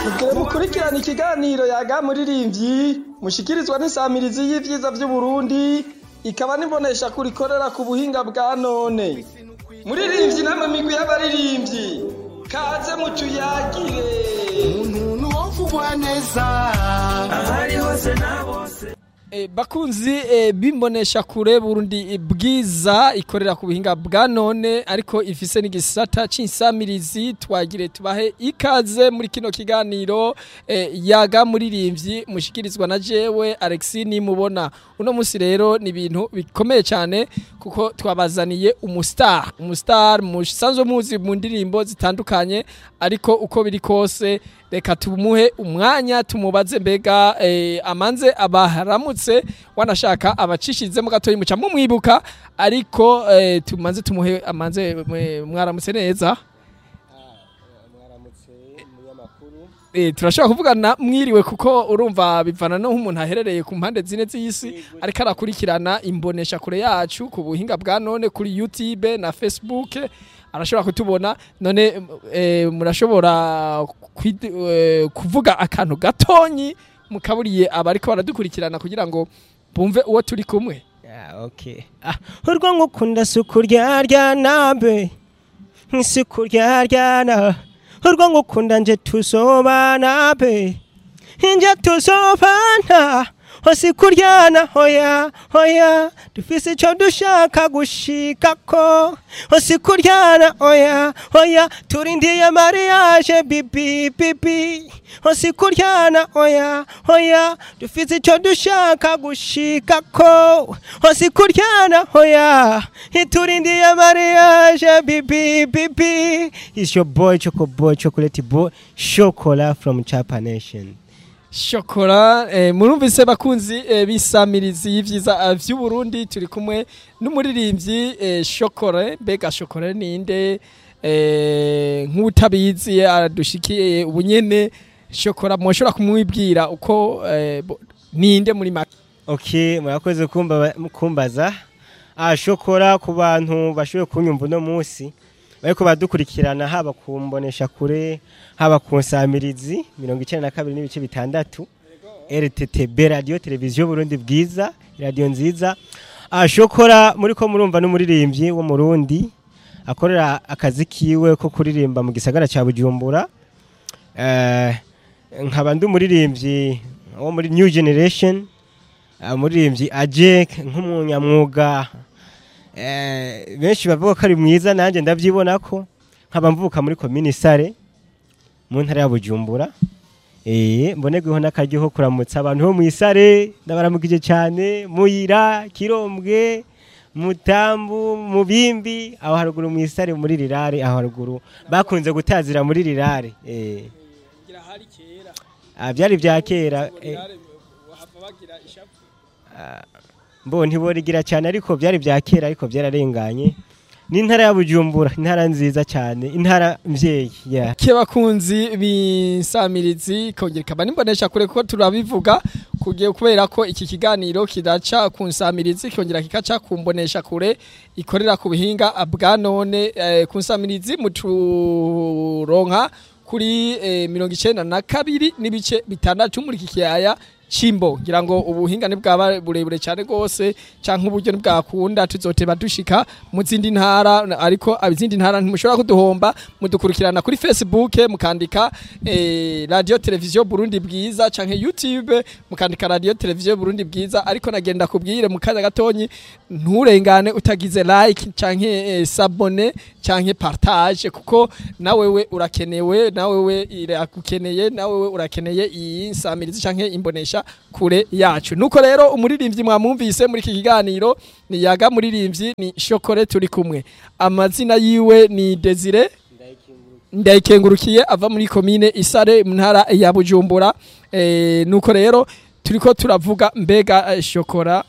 Mugire mukurikirana ikiganiro Yaga Muririmbyi mushikirizwa n'insamirizi y'ivyiza vy'Uburundi, ikaba n'imbonesha kuri ikorera ku buhinga bwa none. Muririmbyi namwe migwi y'abaririmbyi, kaze mutuyagire. Umuntu wovugwa neza ahari hose na bose. Bakunzi bimbonesha kure Burundi Bwiza ikorera ku buhinga bwa none, ariko ifise n'igisata c'insamirizi, twagire tubahe ikaze muri kino kiganiro Yaga Muririmbyi mushikirizwa na jewe Alexis Nimubona. Uno musi rero ni ibintu bikomeye cyane kuko twabazaniye umustar musanzwe muzi mu ndirimbo zitandukanye, ariko uko biri kose reka tumuhe umwanya tumubaze mbega amanze abaharamutse, wanashaka abacishizemo gatoyi muca mumwibuka, ariko tumanze tumuhe amanze. Mwaramutse neza? Mwaramutse, munyamakuru. Turashobora kuvugana mwiriwe, kuko urumva bivana no nk'umuntu aherereye ku mpande zine z'isi ariko arakurikirana imbonesha kure yacu ku buhinga bwa none kuri YouTube na Facebook, arashobora kutubona. None murashobora kuvuga akantu gatonyi mukaburiye abariko baradukurikirana kugira ngo bumve uwo turi kumwe? Ah, okay. Ah, urwo ngukunda sukuryaryana be, sukuryaryana, urwo ngukunda nje tusobana be, nje tusobana, osikuryana, hoya hoya, dufise ico dushaka gushikako, osikuryana, oya oya, turindiye mariage bibi bibi, osikuryana, oya oya, dufise ico dushaka gushikako, osikuryana, oya, turindiye mariage bibi bibi. It's your boy Choco Boy, Chocolate Boy, Chocola from Chapa Nation. Shokora, murumvise bakunzi bisamirizi y'ivyiza vy'Uburundi, turi kumwe n'umuririmbyi Shokore. Mbega Shokore ninde? Nk'utabizi aradushikiye ubunyene, Shokora mwoshobora kumwibwira uko ninde muri make? Okay, murakoze kumbaza. Ah, Shokora, ku bantu bashoboye kunyumva uno munsi bariko badukurikirana, haba kumbonesha kure, haba ku nsamirizi 92.6 RTTB, Radio Televiziyo Burundi Bwiza, radio nziza. Ah, Shokora muri ko murumva n'umuririmbyi wo Murundi akorera akazi kiwe ko kuririmba mu gisagara ca Bujumbura. Nkaba ndi umuririmbyi wo muri New Generation, umuririmbyi aje nk'umunyamwuga, benshi bavuga ko ari mwiza, nanjye ndabyibona ko. Nkaba mvuka muri komini Sare mu ntara ya Bujumbura. Mbonerweho n'akaryo ko kuramutsa abantu bo mu Isare, ndabaramukije cyane, Muyira, Kirombwe, Mutambu, Mubimbi, aho haruguru mu Isare muri Rirare, aho haruguru bakunze gutazira muri Rirare. Ah, byari bya kera. Mbo ntiborigira cyane, ariko byari bya kera, ariko byararenganye. Ni intara ya Bujumbura, intara nziza cyane, intara mvyeyi, yeah. Ke bakunzi b'insamirizi kongera ikaba n'imbonesha kure, kuko turabivuga kugiye kubera ko iki kiganiro kidaca ku nsamirizi kongera kikaca ku mbonesha kure ikorera ku buhinga bwa none. Ku nsamirizi muturonka kuri 92.6 muri iki kiyaya Cimbo. Ngira ngo ubuhinga ntibwaba burebure cyane gose canke uburyo ntibwakunda, tuzoteba dushika mu zindi ntara, ariko abizindi ntara ntimushobora kuduhomba. Mudukurikirana kuri Facebook mukandika Radio Television Burundi Bwiza, canke YouTube mukandika Radio Television Burundi Bwiza. Ariko nagenda kubwire mu kanya gatonyi, nturengane utagize like canke s'abonner canke partage, kuko nawewe urakenewe, nawewe iragukeneye, nawewe urakeneye iyi nsamirizi canke imbonesha kure yacu. Nuko rero umuririmbyi mwamwumvise muri iki kiganiro ni Yaga Muririmbyi, ni Shokore turi kumwe. Amazina yiwe ni Desire Ndayikengurukiye, ava muri komine Isare mu ntara ya Bujumbura. Nuko rero turiko turavuga mbega Shokora